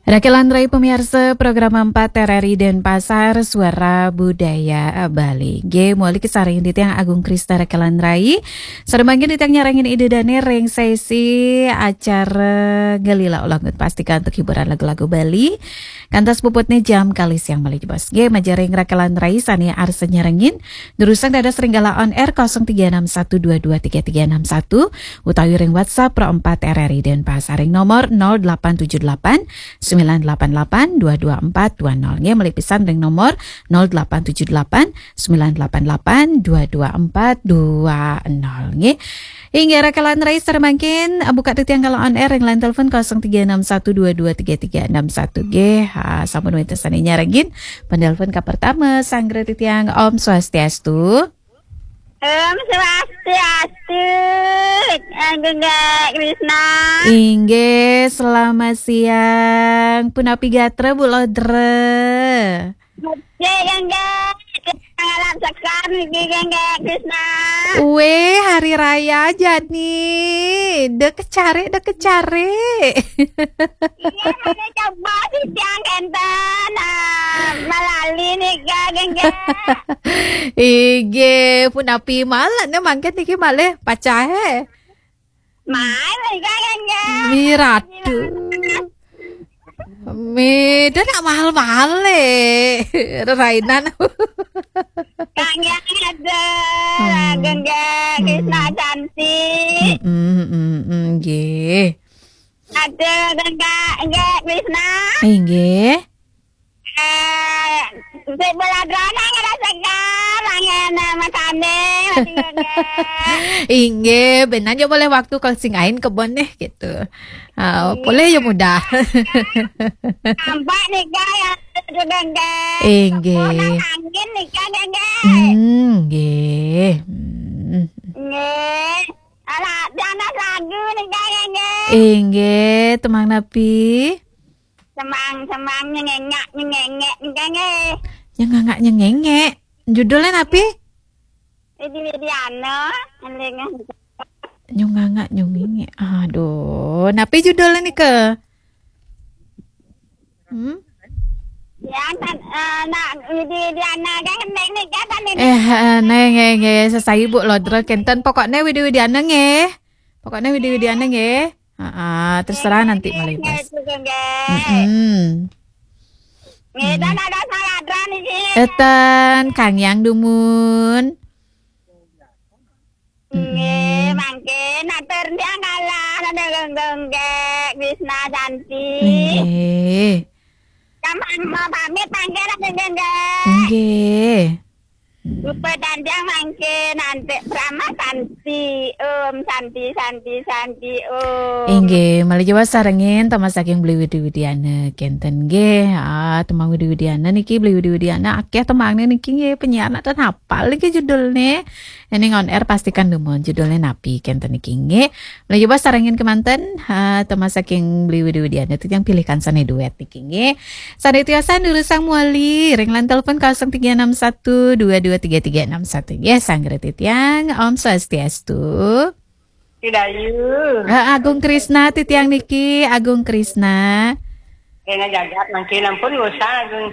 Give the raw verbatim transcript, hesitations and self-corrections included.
Rakelan Rai, pemirsa program empat R R I Denpasar, Suara Budaya Bali. Nggih, muli kasarengin titiang Agung Krista Rakelan Rai. Sareng mangkin titiang nyarengin Ida Dane ring sesi acara Ngelila Ulangut, pasti kantuk hiburan lagu-lagu Bali. Kantos puputne jam kalih siang malih jebos. Nggih, majeng ring Rakelan Rai sane arsa nyarengin, durusang dados ring galah on air kosong tiga enam satu dua dua tiga tiga enam satu, utawi ring WhatsApp Pro empat R R I Denpasar ring nomor nol delapan tujuh delapan sembilan delapan delapan dua dua empat dua nol. Nggih, malih pisan ring nomor nol delapan tujuh delapan sembilan delapan delapan dua dua empat dua nol. Nggih. Inggih, Rakelan Rai sareng mangkin, buka titiang galah on air ring line telepon kosong tiga enam satu dua dua tiga tiga enam satu. Nggih, ha, sampun wenten sane nyarengin. Penelpon ka pertama, sanggra titiang, Om Swastiastu. Om Swastiastu. Agung Krishna. Inggih, selamat siang. Punapi gatra, Bu Lodra? Nggih, Gangga. Ngalap sekar niki, Gangga Krishna. Weh, hari raya jani. Dek kecare, dek kecare. Iya, mana coba sih siang kenten, ah, malali nika, Gangga. Inggih, punapi malih ne mangkin niki malih pacahe. Mai, Gangga. Miratu. Meda nak mahal-mahal le. Rerainan. Kang yang ada, Hmm. Gangga, Krishna Hmm. cantik. Mm-mm, mm-mm, nggih. Ada, Gangga, Gangga, Krishna. Inggih. Eh, si Baladrana ngerasa garang ya, nama kami, Gangga. Inggih, benan ya boleh waktu kau singain kebon nih, gitu. Ah, Iya. Boleh ya mudah. Nampak nih, Kak, ya, itu, Gangga. Inggih. Kebon angin nih, Kak, Gangga. Hmm, nggih. Hmm. Nggih. Alah, panas lagu nih, Kak, Gangga. Inggih, temang napi? Semang-semang nyengengak nyengengek nika nggih. Nyengangak nyengengek. Judulnya napi? Widi Widiana, eling. Nyungangak nyungingek. Aduh, napi judulnya nika? Hmm? Ya, tan, eh, nak Widi Widiana kan ngendek nika tan ini. Eh, eh, nggih, nggih, nggih, sesai Bu Lodra kenten. Pokoknya Widi Widiana nggih. Pokoknya Widi Widiana nggih. Heeh, terserah nanti malih pas. Nggih, nggih. Mm-mm. Nggih, dan ada salah niki. Eten, Kang Yang dumun. Nggih, Mm-mm. Mangkin atur tiang kalah, ada Gangga, Krishna Santi. Nggih. Sama mau pamit mangkin, ada Gangga. Nggih. Rupa dan tiang mangkin, nanti Brahma Santi, Om Santi, Santi, Santi, Om. Inggih, malih jebos sarengin temang saking Beli Widi Widiana kenten nggih. Ah, temang Widi Widiana niki, Beli Widi Widiana akeh temangne niki nggih, penyiar nak ten hafal niki judulne. Ening on air pastikan dumun judulne napi kenten niki nggih. Malih jebos sarengin kemanten, ha, temang saking Beli Widi Widiana titiang pilihkan sane duet niki nggih. Sane tiosan durusang muli ring line telepon kosong tiga enam satu dua dua tiga tiga enam satu. Nggih, sanggra titiang, Om Swastiastu. Dayu. Ah, Agung Krishna titiang niki, Agung Krishna. Kena jagat mangkin ampun ngusah Agung.